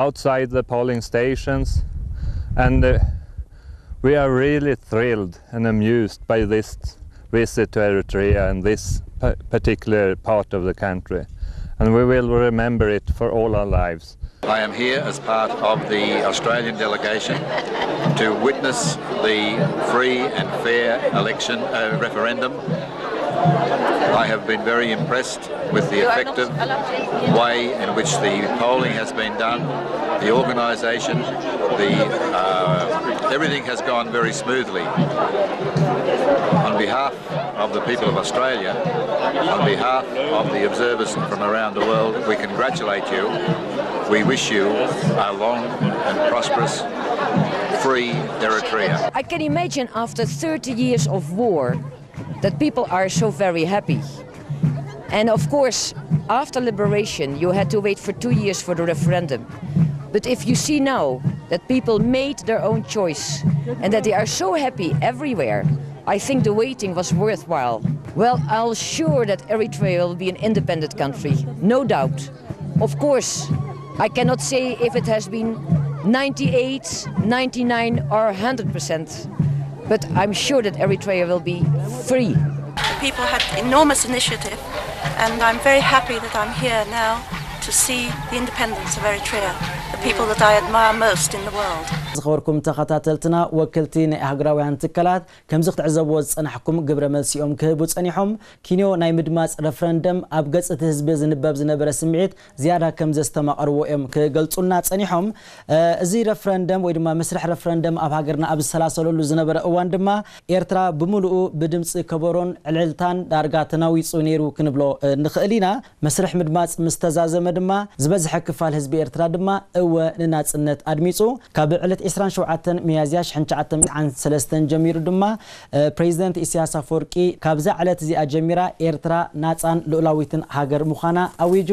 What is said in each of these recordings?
outside the polling stations, and uh, we are really thrilled and amused by this visit to Eritrea and this pa- particular part of the country. And we will remember it for all our lives. I am here as part of the Australian delegation to witness the free and fair election uh, referendum. I have been very impressed with the effective way in which the polling has been done, the organisation, the uh, everything has gone very smoothly. On behalf of the people of Australia, on behalf of the observers from around the world, we congratulate you. We wish you a long and prosperous, free Eritrea. I can imagine after thirty years of war that people are so very happy. And of course, after liberation, you had to wait for two years for the referendum. But if you see now that people made their own choice and that they are so happy everywhere, I think the waiting was worthwhile. Well, I'll sure that Eritrea will be an independent country, no doubt. Of course, I cannot say if it has been ninety-eight, ninety-nine, or one hundred percent, but I'm sure that Eritrea will be free. People had enormous initiative, and I'm very happy that I'm here now to see the independence of Eritrea, the people that I admire most in the world. ዝኸበርኩም ተኸታተልትና፣ ወክልቲ ናይ ኣህጉራውያን ትካላት ከምዚ ክትዕዘብዎ ዝጸናሕኩም ግብረ መልሲ እዮም ክህቡ ጸኒሖም። ኪንዮ ናይ ምድማጽ ረፍረንደም ኣብ ገጽ እቲ ህዝቢ ዝንበብ ዝነበረ ስምዒት ዝያዳ ከም ዘስተማቐርዎ እዮም ክገልጹልና ጸኒሖም። እዚ ረፍረንደም ወይ ድማ መስርሕ ረፍረንደም ኣብ ሃገርና ኣብ ዝሰላሰለሉ ዝነበረ እዋን ድማ ኤርትራ ብምሉኡ ብድምፂ ከበሮን ዕልልታን ዳርጋ ተናዊፁ ነይሩ ክንብሎ ንኽእል ኢና። መስርሕ ምድማፅ ምስ ተዛዘመ ድማ ዝበዝሐ ክፋል ህዝቢ ኤርትራ ድማ እወ ንናፅነት ኣድሚፁ። ካብ ዕለት ዕስራን ሸውዓተን ሚያዝያ ሽሕን ትሽዓተ ሚእትን ሰለስተን ጀሚሩ ድማ ፕሬዚደንት ኢሳያስ ኣፈወርቂ ካብዛ ዕለት እዚኣ ጀሚራ ኤርትራ ናፃን ልኡላዊትን ሃገር ምዃና ኣዊጁ።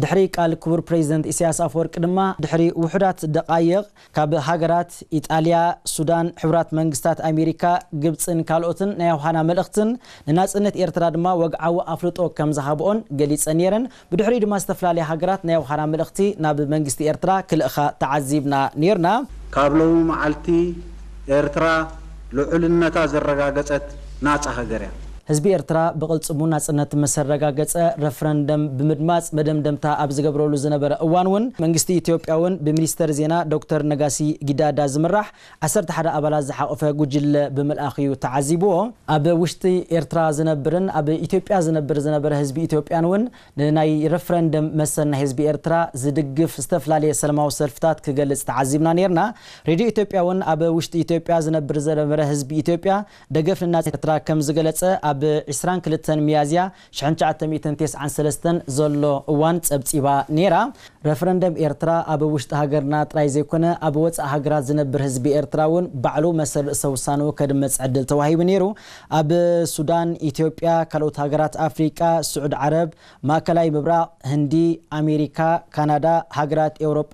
ድሕሪ ቃል ክቡር ፕሬዚደንት ኢሳያስ ኣፈወርቂ ድማ ድሕሪ ውሑዳት ደቓይቕ ካብ ሃገራት ኢጣልያ፣ ሱዳን፣ ሕቡራት መንግስታት ኣሜሪካ፣ ግብፅን ካልኦትን ናይ ኣውሃና መልእኽትን ንናፅነት ኤርትራ ድማ ወግዓዊ ኣፍልጦ ከም ዝሃብኦን ገሊፀን ነይረን። ብድሕሪኡ ድማ ዝተፈላለያ ሃገራት ናይ ኣውሃና መልእኽቲ ናብ መንግስቲ ኤርትራ ክልእኻ ተዓዚብና ነይርና። ካብ ሎሚ መዓልቲ ኤርትራ ልዑልነታ ዘረጋገጸት ናጻ ሃገር እያ። ህዝቢ ኤርትራ ብቕልጽሙ ናጽነት ምስ ኣረጋገጸ ረፍረንደም ብምድማጽ መደምደምታ ኣብ ዝገብረሉ ዝነበረ እዋን እውን መንግስቲ ኢትዮጵያ እውን ብሚኒስተር ዜና ዶክተር ነጋሲ ጊዳዳ ዝምራሕ ዓሰርተ ሓደ ኣባላት ዝሓቖፈ ጉጅለ ብምልኣኽ እዩ ተዓዚብዎ። ኣብ ውሽጢ ኤርትራ ዝነብርን ኣብ ኢትዮጵያ ዝነብር ዝነበረ ህዝቢ ኢትዮጵያን እውን ንናይ ረፍረንደም መሰል ናይ ህዝቢ ኤርትራ ዝድግፍ ዝተፈላለየ ሰላማዊ ሰልፍታት ክገልጽ ተዓዚብና ነይርና። ሬድዮ ኢትዮጵያ እውን ኣብ ውሽጢ ኢትዮጵያ ዝነብር ዝነበረ ህዝቢ ኢትዮጵያ ደገፍ ንናጽነት ኤርትራ ከም ዝገለጸ ኣብ ዕስራን ክልተን ሚያዝያ ሽሕን ትሽዓተ ሚእትን ተስዓን ሰለስተን ዘሎ እዋን ጸብጺባ ነይራ። ረፍረንደም ኤርትራ ኣብ ውሽጢ ሃገርና ጥራይ ዘይኮነ ኣብ ወጻኢ ሃገራት ዝነብር ህዝቢ ኤርትራ እውን ባዕሉ መሰል ርእሰ ውሳንኡ ከድምጽ ዕድል ተዋሂቡ ነይሩ። ኣብ ሱዳን፣ ኢትዮጵያ፣ ካልኦት ሃገራት ኣፍሪቃ፣ ስዑድ ዓረብ፣ ማእከላይ ምብራቕ፣ ህንዲ፣ ኣሜሪካ፣ ካናዳ፣ ሃገራት ኤውሮጳ፣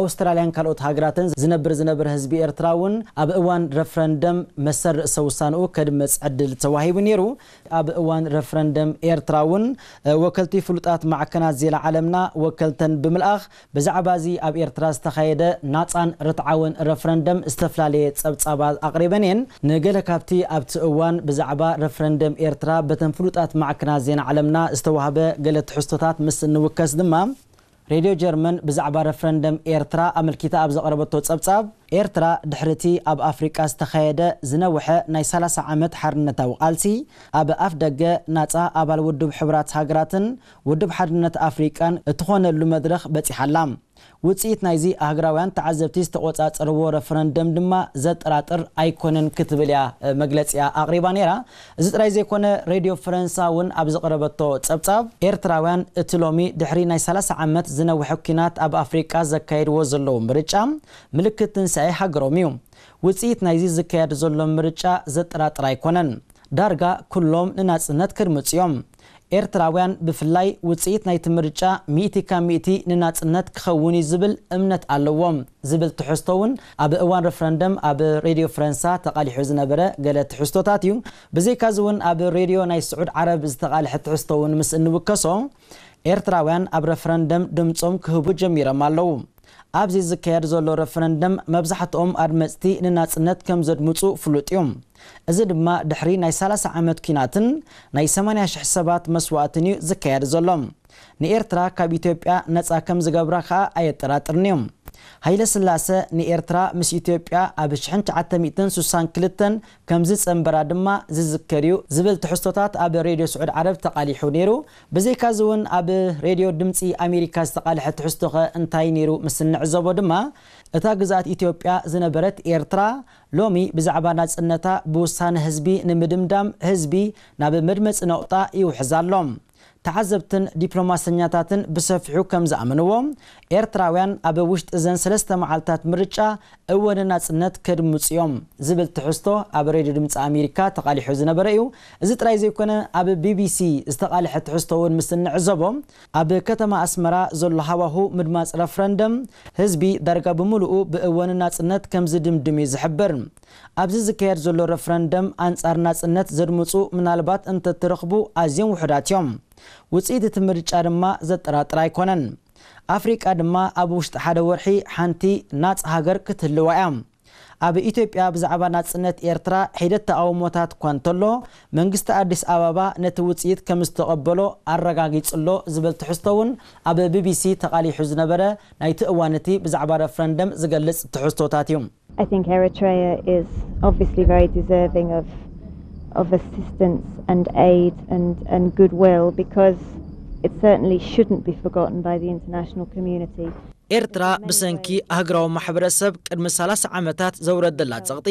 ኣውስትራልያን ካልኦት ሃገራትን ዝነብር ዝነበረ ህዝቢ ኤርትራ እውን ኣብ እዋን ረፍረንደም መሰል ርእሰ ውሳንኡ ከድምጽ ዕድል ተዋሂቡ ነይሩ። ኣብ እዋን ረፍረንደም ኤርትራ እውን ወከልቲ ፍሉጣት ማዕከናት ዜና ዓለምና ወከልተን ብምልኣኽ ብዛዕባ እዚ ኣብ ኤርትራ ዝተኻየደ ናጻን ርትዓውን ረፍረንደም ዝተፈላለየ ጸብጻባት ኣቕሪበን እየን። ንገለ ካብቲ ኣብቲ እዋን ብዛዕባ ረፍረንደም ኤርትራ በተን ፍሉጣት ማዕከናት ዜና ዓለምና ዝተዋህበ ገለ ትሕዝቶታት ምስ እንውከስ ድማ ሬድዮ ጀርመን ብዛዕባ ረፍረንደም ኤርትራ ኣመልኪታ ኣብ ዘቕረበቶ ጸብጻብ፣ ኤርትራ ድሕሪቲ ኣብ ኣፍሪቃ ዝተኻየደ ዝነውሐ ናይ ሰላሳ ዓመት ሓርነታዊ ቃልሲ፣ ኣብ ኣፍ ደገ ናጻ ኣባል ውድብ ሕቡራት ሃገራትን ውድብ ሓድነት ኣፍሪቃን እትኾነሉ መድረኽ በጺሓ ኣላ። ውጽኢት ናይዚ ኣህግራውያን ተዓዘብቲ ዝተቖጻጸርዎ ረፈረንደም ድማ ዘጠራጥር ኣይኮነን ክትብል እያ መግለጺኣ ኣቕሪባ ነይራ። እዚ ጥራይ ዘይኮነ ሬድዮ ፈረንሳ እውን ኣብ ዘቕረበቶ ጸብጻብ ኤርትራውያን እቲ ሎሚ ድሕሪ ናይ ሰላሳ ዓመት ዝነውሐ ኲናት ኣብ ኣፍሪቃ ዘካየድዎ ዘለዉ ምርጫ ምልክት ትንሳኤ ሃገሮም እዩ። ውጽኢት ናይዚ ዝካየድ ዘሎ ምርጫ ዘጠራጥር ኣይኮነን። ዳርጋ ኩሎም ንናጽነት ክድምጹ እዮም። ኤርትራውያን ብፍላይ ውጽኢት ናይቲ ምርጫ ሚእቲ ካብ ሚእቲ ንናጽነት ክኸውን እዩ ዝብል እምነት ኣለዎም ዝብል ትሕዝቶ እውን ኣብ እዋን ረፈረንደም ኣብ ሬድዮ ፈረንሳ ተቓሊሑ ዝነበረ ገለ ትሕዝቶታት እዩ። ብዘይካዚ እውን ኣብ ሬድዮ ናይ ስዑድ ዓረብ ዝተቓልሐ ትሕዝቶ እውን ምስ እንውከሶ ኤርትራውያን ኣብ ረፈረንደም ድምጾም ክህቡ ጀሚሮም ኣለዉ። ኣብዚ ዝካየድ ዘሎ ረፈረንደም መብዛሕትኦም ኣድመፅቲ ንናፅነት ከም ዘድምፁ ፍሉጥ እዩ። እዚ ድማ ድሕሪ ናይ ሰላሳ ዓመት ኲናትን ናይ ሰማንያ ሽሕ ሰባት መስዋእትን እዩ ዝካየድ ዘሎ። ንኤርትራ ካብ ኢትዮጵያ ነፃ ከም ዝገብራ ከኣ ኣየጠራጥርን እዩ። ሃይለ ስላሰ ንኤርትራ ምስ ኢትዮጵያ ኣብ ሽሕን ትሽዓተ ሚእትን ስሳን ክልተን ከም ዝጸንበራ ድማ ዝዝከር እዩ ዝብል ትሕዝቶታት ኣብ ሬድዮ ስዑድ ዓረብ ተቓሊሑ ነይሩ። ብዘይካዚ እውን ኣብ ሬድዮ ድምጺ ኣሜሪካ ዝተቓልሐ ትሕዝቶኸ እንታይ ነይሩ ምስ እንዕዘቦ ድማ፣ እታ ግዝኣት ኢትዮጵያ ዝነበረት ኤርትራ ሎሚ ብዛዕባ ናጽነታ ብውሳነ ህዝቢ ንምድምዳም ህዝቢ ናብ መድመጺ ነቑጣ ይውሕዝ ኣሎ። ተዓዘብትን ዲፕሎማሰኛታትን ብሰፊሑ ከም ዝኣመንዎ፣ ኤርትራውያን ኣብ ውሽጢ እዘን ሰለስተ መዓልታት ምርጫ እወ ንናጽነት ከድምጹ እዮም ዝብል ትሕዝቶ ኣብ ሬድዮ ድምጺ ኣሜሪካ ተቓሊሑ ዝነበረ እዩ። እዚ ጥራይ ዘይኮነ፣ ኣብ ቢቢሲ ዝተቓልሐ ትሕዝቶ እውን ምስ እንዕዘቦ፣ ኣብ ከተማ ኣስመራ ዘሎ ሃዋሁ ምድማጽ ረፍረንደም ህዝቢ ዳርጋ ብምሉኡ ብእወ ንናጽነት ከም ዝድምድም እዩ ዝሕብር። ኣብዚ ዝካየድ ዘሎ ረፍረንደም ኣንጻር ናጽነት ዘድምጹ ምናልባት እንተትረኽቡ ኣዝዮም ውሑዳት እዮም። ውጽኢት እቲ ምርጫ ድማ ዘጠራጥር ኣይኮነን። ኣፍሪቃ ድማ ኣብ ውሽጢ ሓደ ወርሒ ሓንቲ ናጽ ሃገር ክትህልዋ እያ። ኣብ ኢትዮጵያ ብዛዕባ ናጽነት ኤርትራ ሒደት ተቓውሞታት እኳ እንተሎ፣ መንግስቲ ኣዲስ ኣበባ ነቲ ውጽኢት ከም ዝተቐበሎ ኣረጋጊጹ ኣሎ ዝብል ትሕዝቶ እውን ኣብ ቢቢሲ ተቓሊሑ ዝነበረ ናይቲ እዋን እቲ ብዛዕባ ረፍረንደም ዝገልጽ ትሕዝቶታት እዩ። I think Eritrea is obviously very deserving of of assistance and aid and, and goodwill because it certainly shouldn't be forgotten by the international community. ኤርትራ ብሰንኪ ኣህግራዊ ማሕበረሰብ ቅድሚ ሰላሳ ዓመታት ዘውረደላ ጸቕጢ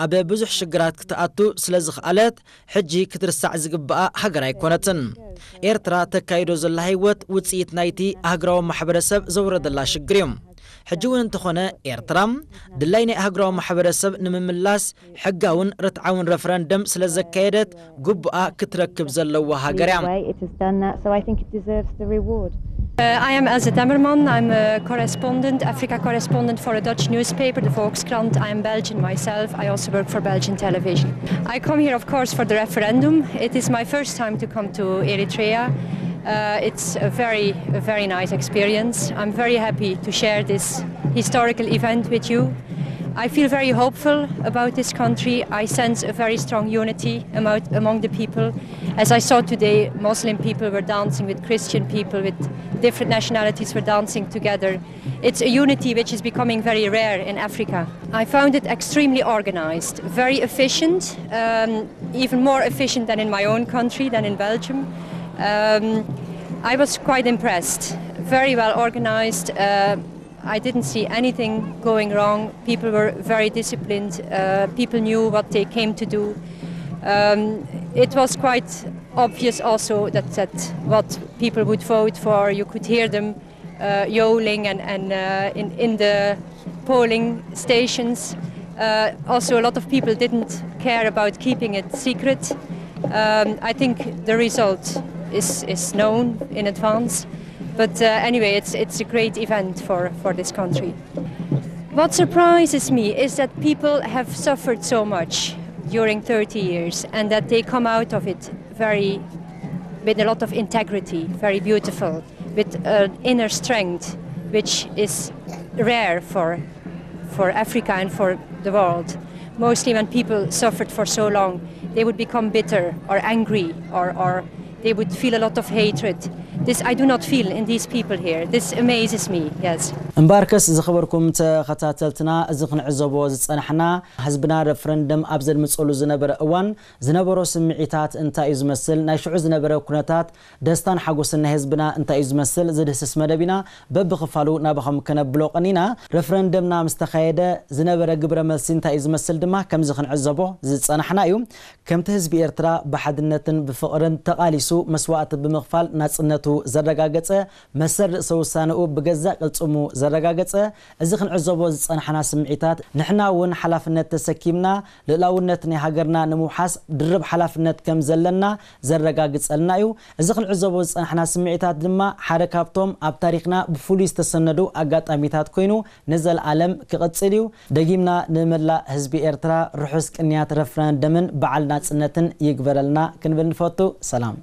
ኣብ ብዙሕ ሽግራት ክትኣቱ ስለ ዝኽኣለት ሕጂ ክትርሳዕ ዝግብኣ ሃገር ኣይኮነትን። ኤርትራ ተካይዶ ዘላ ህይወት ውጽኢት ናይቲ ኣህግራዊ ማሕበረሰብ ዘውረደላ ሽግር እዩ። ሕጂ እውን እንተኾነ ኤርትራ ድላይ ናይ ኣህግራዊ ማሕበረሰብ ንምምላስ ሕጋውን ርትዓውን ረፈረንደም ስለ ዘካየደት ግቡኣ ክትረክብ ዘለዋ ሃገር እያ። It has done that, so I think it deserves the reward. Uh, I am Else Temmerman. I'm a correspondent, Africa correspondent for a Dutch newspaper, the Volkskrant. I am Belgian myself. I also work for Belgian television. I come here, of course, for the referendum. It is my first time to come to Eritrea. Uh, it's a very, a very nice experience. I'm very happy to share this historical event with you. I feel very hopeful about this country. I sense a very strong unity among, among the people. As I saw today, Muslim people were dancing with Christian people, with different nationalities were dancing together. It's a unity which is becoming very rare in Africa. I found it extremely organized, very efficient, um, even more efficient than in my own country, than in Belgium. Um, I was quite impressed. Very well organized. Uh, I didn't see anything going wrong. People were very disciplined. Uh, people knew what they came to do. Um, it was quite obvious also that, that what people would vote for, you could hear them uh, yowling and, and uh, in, in the polling stations. Uh, also, a lot of people didn't care about keeping it secret. Um, I think the result is, is known in advance. But uh, anyway, it's, it's a great event for, for this country. What surprises me is that people have suffered so much during thirty years and that they come out of it very, with a lot of integrity, very beautiful, with an inner strength which is rare for, for Africa and for the world. Mostly when people suffered for so long, they would become bitter or angry or, or they would feel a lot of hatred. This I do not feel in these people here. This amazes me, yes. እምበኣርከስ ዝኸበርኩም ተኸታተልትና፣ እዚ ክንዕዘቦ ዝጸናሕና፣ ህዝብና ረፍረንደም ኣብ ዘድምጸሉ ዝነበረ እዋን ዝነበሮ ስምዒታት እንታይ እዩ ዝመስል፣ ናይ ሽዑ ዝነበረ ኩነታት ደስታን ሓጎስን ናይ ህዝብና እንታይ እዩ ዝመስል ዝድህስስ መደብ ኢና በብኽፋሉ ናባኹም ከነብሎ ቀኒና። ረፍረንደምና ምስ ተኻየደ ዝነበረ ግብረ መልሲ እንታይ እዩ ዝመስል ድማ ከምዚ ክንዕዘቦ ዝጸናሕና እዩ። ከምቲ ህዝቢ ኤርትራ ብሓድነትን ብፍቕርን ተቓሊሱ መስዋእቲ ብምኽፋል ናጽነቱ ዘረጋገጸ፣ መሰል ርእሰ ውሳነኡ ብገዛእ ቅልጽሙ ዘረጋገጸ፣ እዚ ክንዕዘቦ ዝጸናሕና ስምዒታት ንሕና እውን ሓላፍነት ተሰኪምና ልእላውነት ናይ ሃገርና ንምውሓስ ድርብ ሓላፍነት ከም ዘለና ዘረጋግጸልና እዩ። እዚ ክንዕዘቦ ዝጸናሕና ስምዒታት ድማ ሓደ ካብቶም ኣብ ታሪኽና ብፍሉይ ዝተሰነዱ ኣጋጣሚታት ኮይኑ ንዘለኣለም ክቕጽል እዩ። ደጊምና ንመላእ ህዝቢ ኤርትራ ርሑስ ቅንያት ረፍረንደምን በዓል ናጽነትን ይግበረልና ክንብል ንፈቱ። ሰላም።